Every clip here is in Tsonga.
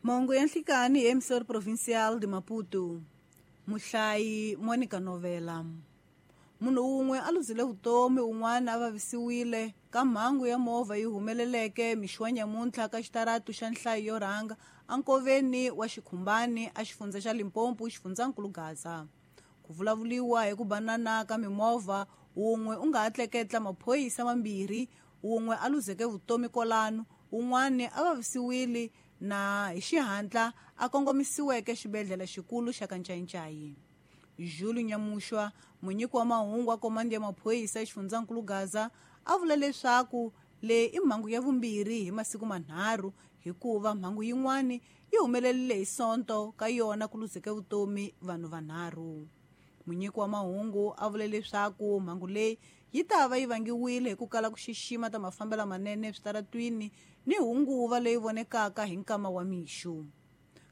Mahungu ya nhlikani hi Emissor Provincial de Maputo. Muhlayi Monica Novela. Munhu wun'we a luzile vutomi un'wana a vavisiwile ka mhangu ya movha yi humeleleke mixo wa nyamuntlha ka xitaratu xa nhlayo yo rhanga enkoveni wa Xikhumbani a xifundza xa Limpopo xifundzankulu Gaza. Ku vulavuriwa hi ku banana ka mimovha wun'we u nga ha tleketla maphorisa mambirhi wun'we a luzeke vutomi kwalano un'wana a vavisiwile na hi xihatla a kongomisiweke xibedhlele xikulu xa Kanchanchayi. Jules Nyamushwa, munyiki wa mahungu wa komandi ya maphorisa exifundzankulu Gaza, a vula leswaku leyi i mhangu ya vumbirhi hi masiku manharhu hikuva mhangu yin'wana yi humelerile hi Sonto ka yona ku luzeke vutomi vanhu vanharhu. Munyiki wa mahungu a vule leswaku mhangu leyi yi ta va yi vangiwile hi ku kala ku xixima ta mafambelo manene eswitaratwini ni hunguva leyi vonekaka hi nkama wa mixo.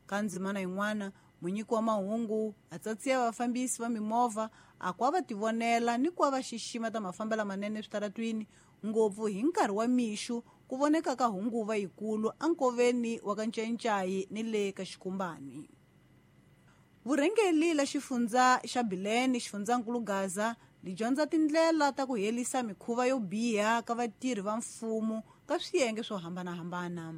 Ka ndzimana yin'wana, munyiki wa mahungu a tsatsiya vafambisi va mimovha a ku va tivonela ni ku va xixima ta mafambelo manene eswitaratwini ngopfu hi nkarhi wa mixo ku voneka ka hunguva yikulu enkoveni wa Kanchanchayi ni le ka Xikhumbani. Vurhengeli la xifundza xa Bilene xifundzankulu Gaza li dyondza tindlela ta ku herisa mikhuva yo biha ka vatirhi va mfumo ka swiyenge swo hambanahambana.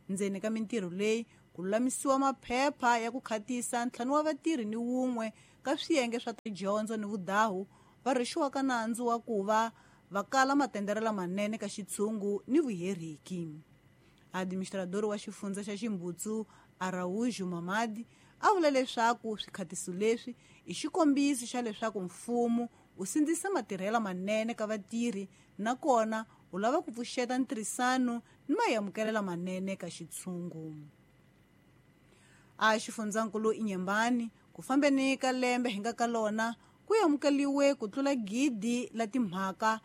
Ndzeni ka mintirho leyi ku lulamisiwa maphepha ya ku khatisa ntlhanu wa vatirhi ni wun'we ka swiyenge swa tidyondzo ni vudahu va rhwexiwaka nandzu wa ku va va kala matendere lamanene ka xitshungu ni vuheriki. Administrador wa xifundza xa Ximbutsu Araújo Mamadi a vula leswaku swikhatiso leswi i xikombiso xa leswaku mfumo wu sindzisa matirhelo manene ka vatirhi nakona wu lava ku pfuxeta ntirhisano ni maamukelo lamanene ka xitshungu. A xifundzankulu Inyembani ku fambeni ka lembe hi nga ka lona ku amukeriwe ku tlula 1,000 la timhaka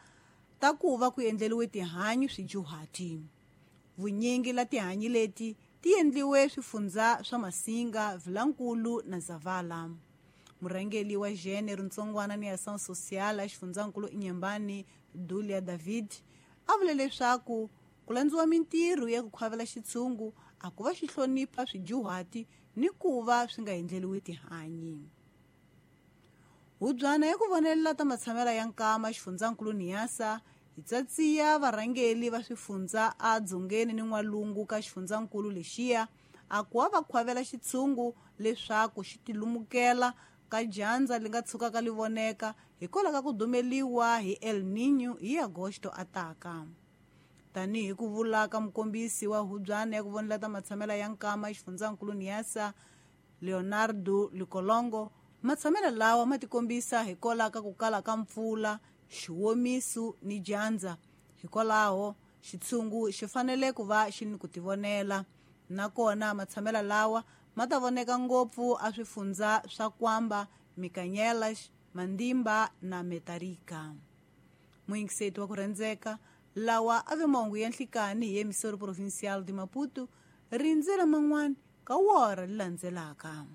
ta ku va ku endleriwe tihanyi swidyuhati. Vunyingi la tihanyi leti ti endliwe swifundza swa Masinga, Vilankulu na Zavala. Murhangeri wa Gênero Ntsongwana ni Ação Social a xifundzankulu Inyembani Dulia David a vule leswaku ku landziwa mintirho ya ku khwavela xitshungu a ku va xi hlonipha swidyuhati ni ku va swi nga endleriwi tihanyi. Hubyana ya ku vonelela ta matshamelo ya nkama xifundzankulu Niassa hi tsatsiya varhangeri va swifundza a dzongeni ni n'walungu ka xifundzankulu lexiya a ku va khwavela xitshungu leswaku xi tilumukela ka dyandza li nga tshukaka li voneka hikwalaho ka ku dumeliwa hi El Niño hi Agosto ataka. Tanihi ku vula ka mukombisi wa hubyana ya ku vonela ta matshamelo ya nkama xifundzankulu Niassa Leonardo Likolongo, matshamelo lawa ma tikombisa hikwalaho ka ku kala ka mpfula, xiwomiso ni dyandza. Hikwalaho xitshungu xi fanele ku va xi ni ku tivonela, nakona matshamelo lawa ma ta voneka ngopfu a swifundza swa Kwamba, Mikanyelas, Mandimba na Metarika. Muyingiseti wa ku rhandzeka, lawa a ve mahungu ya nhlikani hi Emissor Provincial de Maputo, rindzela man'wana ka wora li landzelaka.